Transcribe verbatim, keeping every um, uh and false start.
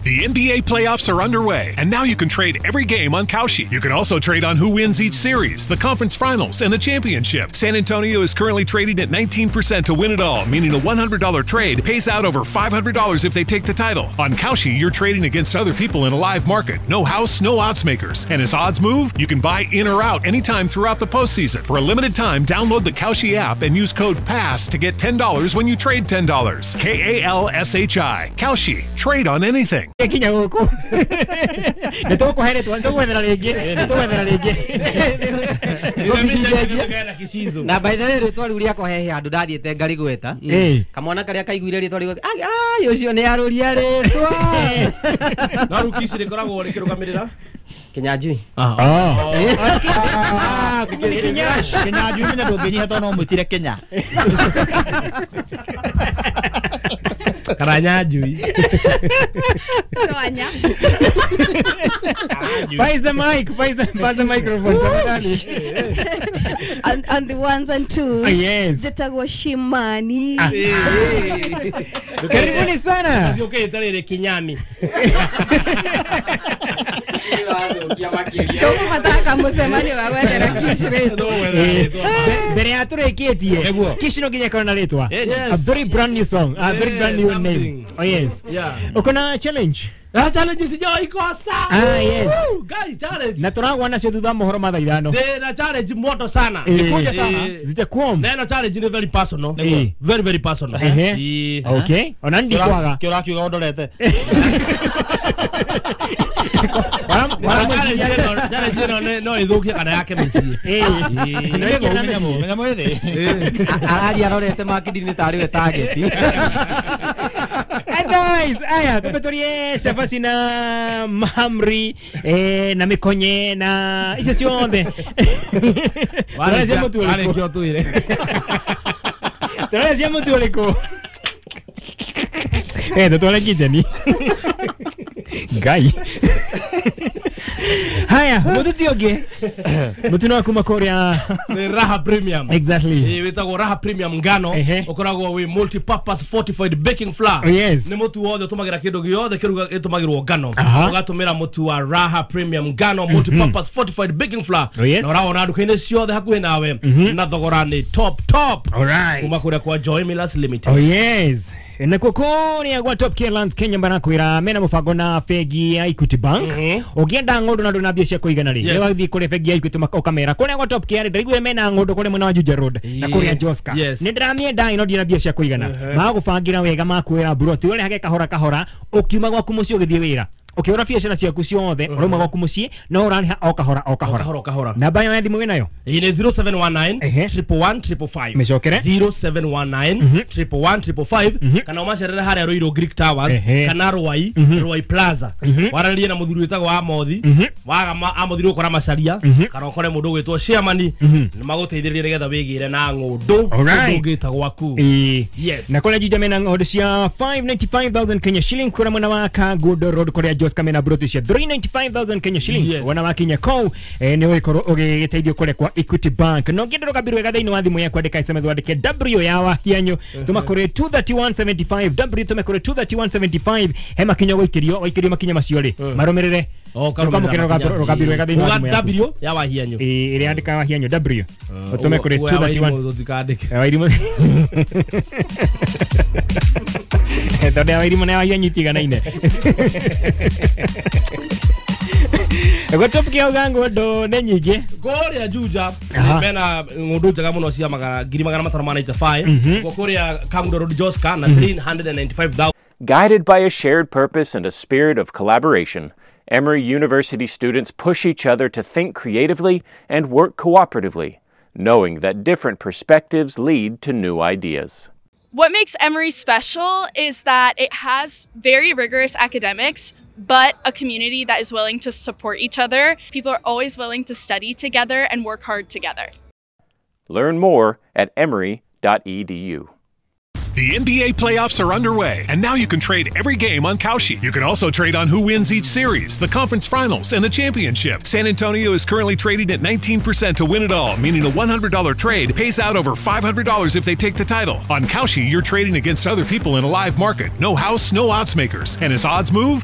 The N B A playoffs are underway, and now you can trade every game on Kalshi. You can also trade on who wins each series, the conference finals, and the championship. San Antonio is currently trading at nineteen percent to win it all, meaning a one hundred dollar trade pays out over five hundred dollars if they take the title. On Kalshi, you're trading against other people in a live market. No house, no odds makers. And as odds move, you can buy in or out anytime throughout the postseason. For a limited time, download the Kalshi app and use code PASS to get ten dollars when you trade ten dollars. K A L S H I. Kalshi. Trade on anything. Kinya guku nä tå kå he rä twa nä tå gwethera rä ngä nä tå gwethera rä ngä. Na by the way rĩtwa rĩu rĩakwa hehe handũ ndathiĩte ngarigweta kamwana karĩa kaiguire rĩtwa rĩu ai ũcio nĩ arũria rĩtwa no rĩu Kishi rĩkoragwo rĩkĩrũgamĩrĩra Kinyanjui. Kinyanjui menya ndũngĩnyiha tondũ no mwĩtire Kenya. Karanyanjui. Pass the mic, pass the, pass the microphone. And, and the ones and twos. Oh, yes. Zitagwa Shimani. Karibuni sana. Okay, tare Kinyami. Mbere ya tũrĩkĩtie Kishi no nginya ĩkorwo na rĩtwa. A very brand new song, a very brand new name. Oh yes. Uko na challenge? Ah, challenge sijawahi kosa. Ah yes. Guys, challenge. Na turagwa nacio thutha mohoro mathaa ithano. Na challenge moto sana. Zikuja sana. Zitakuwa. Neno challenge ni very personal. Very very personal. Okay. Ona ndikwaga. Kĩo ũrakiuga ũndorete. No ithũkie kana yake mĩciĩ. Araria arorete makindi-inĩ tarĩ we target. Nice. Aya, tũpetorie cabaci na mahamri eh, na mĩkonye na icio ciothe. Tũracia mũtu ũrĩkũ? Tũracia mũtu ũrĩkũ? Eh, tũtware kitchen. Ngai. Haya, mũtu ti ũngĩ. Mũtu no kuma kũrĩa ni Raha Premium. Exactly. Eh, wĩtagwo Raha Premium ngano, ũkoragwo wĩ multi purpose fortified baking flour. Oh, yes. Nĩ mũtu wothe ũtũmagĩra kĩndũ gĩothe kĩruga gĩtũmagĩrwo ngano. Ũgatũmĩra mũtu wa Raha Premium ngano multi purpose fortified baking flour. Oh, yes. Na ũrawona nduka-inĩ ciothe hakuhĩ nawe na thogora nĩ top top. All right. Kuma kũrĩa kwa Joy Millers Limited. Oh yes. Na kũrĩa gwa Top Care Lands Kenya marakwĩra mena mũbango na bengi ya Equity Bank. Ũngĩenda ng'ũndũ na ndũna mbia cia kũigana rĩ, nĩ wathiĩ kũrĩ bengi ya Equity ũkamera kũrĩa gwa Top Care ndaiguire mena ng'ũndũ kũrĩa mwena wa Juja Road na kũrĩa Joska. Nĩ ndĩramĩenda ĩno ndina mbia cia kũigana. Magũbangĩra wega makwĩra buroti ũrehage kahora kahora ũkiuma gwaku mũciĩ ũgĩthiĩ wĩra. Ũkĩhũra biacara ciaku ciothe ũrauma gwaku mũciĩ no ũrarĩha o kahora o kahora. Kahora kahora. Namba ya thimũ wĩnayo? Ĩ nĩ zero seven one nine triple one triple five. Mĩcokere. zero seven one nine triple one triple five kana ũmacerere harĩa Ruiru Greek Towers kana Ruai Ruai Plaza. Waranĩrie na mũthuri wĩtagwo Amothi. Waga Amothi ũkora macaria kana ũkore mũndũ ũgwĩtwo Chairman nĩ magũteithĩrĩrie nĩgetha wĩgĩre na ng'ũndũ ũndũ ũngĩta gwaku. Yes. Na kũrĩa Juja mena ng'ũndũ cia five ninety-five thousand Kenya shillings kũrĩa mwena wa Kangundo Road kũrĩa Joska mena broti cia three ninety-five thousand Kenya shillings. Yes. Wana wakinya kou eh, nĩ ũgĩkorwo ũgĩteithio kũrĩa kwa Equity Bank. No ngĩndũ rũgambi rwega thĩinĩ wa thimũ yaku andĩka S M S wandĩke W ya Wahianyu tũma kũrĩ two thirty-one seventy-five W tũme kũrĩ two thirty-one seventy-five he makinya gũikĩrio waikĩrio makinya macio rĩ marũmĩrĩre. Oh, karũmĩrĩra rũgambi rwega thĩinĩ wa thimũ yaku W ya Wahianyu ĩrĩa andĩka Wahianyu W ũtũme kũrĩ two thirty-one Wairimũ tondũ ya Wairimũ na ya Wahianyu itiganaine. Gwa Top Care uga ng'ũndũ nĩ nyingĩ kũrĩa Juja mena ng'ũndũ njega mũno cia magana ngiri magana matano ma ninety-five gwa kũrĩa Kangundo Road Joska na three hundred ninety-five thousand. Guided by a shared purpose and a spirit of collaboration, Emory University students push each other to think creatively and work cooperatively, knowing that different perspectives lead to new ideas. What makes Emory special is that it has very rigorous academics, but a community that is willing to support each other. People are always willing to study together and work hard together. Learn more at emory dot e d u. The N B A playoffs are underway, and now you can trade every game on Kalshi. You can also trade on who wins each series, the conference finals, and the championship. San Antonio is currently trading at nineteen percent to win it all, meaning a one hundred dollar trade pays out over five hundred dollars if they take the title. On Kalshi, you're trading against other people in a live market. No house, no odds makers. And as odds move, you